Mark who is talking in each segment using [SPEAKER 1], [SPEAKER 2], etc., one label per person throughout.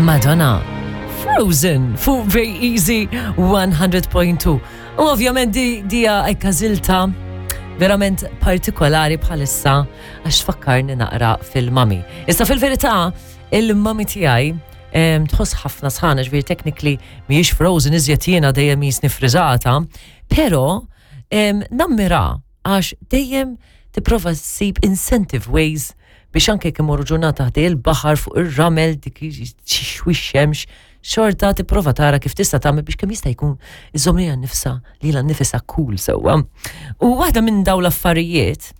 [SPEAKER 1] Madonna, Frozen fuq Very Easy 100.2. U ovvjament di dija ekkażilta verament partikolari bħalissa għax tfakkarni naqra fil-mami. Issa fil-verità, il-mami tiegħi tħoss ħafna sħana, ġifieri technically mhijiex frozen iżjed jiena dejjem jisni friżata, però nammira għax dejjem tipprova ssib incentive ways biex anke jekk imorru ġurnata ħdej il-baħar fuq ir-ramel dik xixwi xemx, xorta tipprova tara kif tista' tagħmel biex kemm jista' jkun iżomm lilha nnifsha lilha nnifisha cool sewwa. U waħda minn dawn l-affarijiet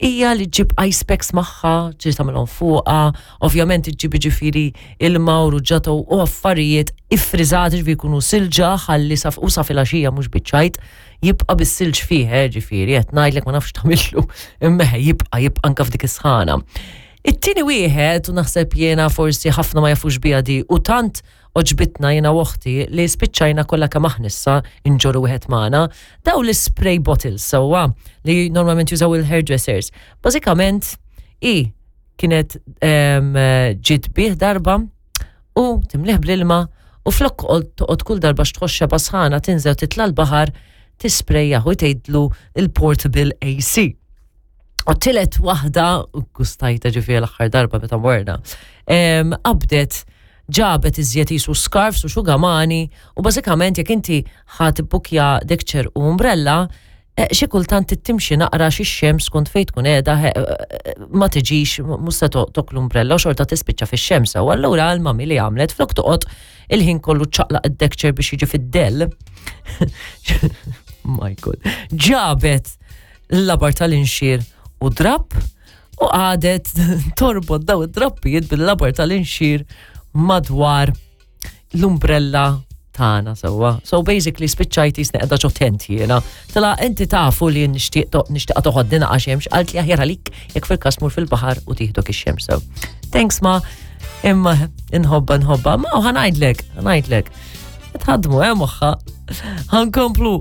[SPEAKER 1] hija li ġġib ice packs magħha, ġieli tagħmilhom fuqha, ovvjament iġġib jiġifieri ilma u ruġġata u affarijiet iffriżati ġifieri jkunu silġa ħalli sa u sa filgħaxija mhux biċ-ċajt jibqa' bis-silġ fih, eh, ġifieri qed ngħidlek ma nafx tagħmillu, imma jibqa' jibqa' anke f'dik is-sħana. It-tieni wieħed u naħseb jiena forsi ħafna ma jafux biha di u tant għoġbitna jiena u oħti li spiċċajna kollha kemm aħna issa inġorru wieħed magħna, daw l-spray bottles sewwa li normalment jużaw il-hairdressers. Bażikament i kienet ġiet bih darba u timlih bl-ilma u flok toqgħod kull darba x'tħoss xeba sħana tinżel titla' l-baħar tisprejjaħ u tgħidlu il-portable AC. U tilet waħda, gustajta ġifieri l-aħħar darba meta morna, qabdet ġabet iżjed jisu scarfs u xugamani u bażikament jekk inti ħa tibbukja dekċer u umbrella, eh, xi kultant timxi naqra xi xemx skont fejn tkun qiegħda eh, eh, ma tiġix mhux se tok l-umbrella u xorta tispiċċa fix-xemsa. U allura l-mami li għamlet flok toqgħod il-ħin kollu ċaqlaq id-dekċer biex jiġi fid-dell. My God. Ġabet l-labar tal-inxir u drapp u għadet torbot daw id-drappijiet bil-labar tal-inxir madwar l-umbrella tagħna sewwa. So basically spiċċajt jisni qiegħda ġo tent jiena. Tela inti tafu li nixtieq nixtieqa toħodni naqa' xemx, qalt li aħjar għalik jekk fil-każ mur fil-baħar u tieħdok ix-xemx sew. Thanks ma, imma inħobba nħobba, ma ħanajdlek, ħanajdlek. Tħadmu, eh, moħħa. Ħankomplu.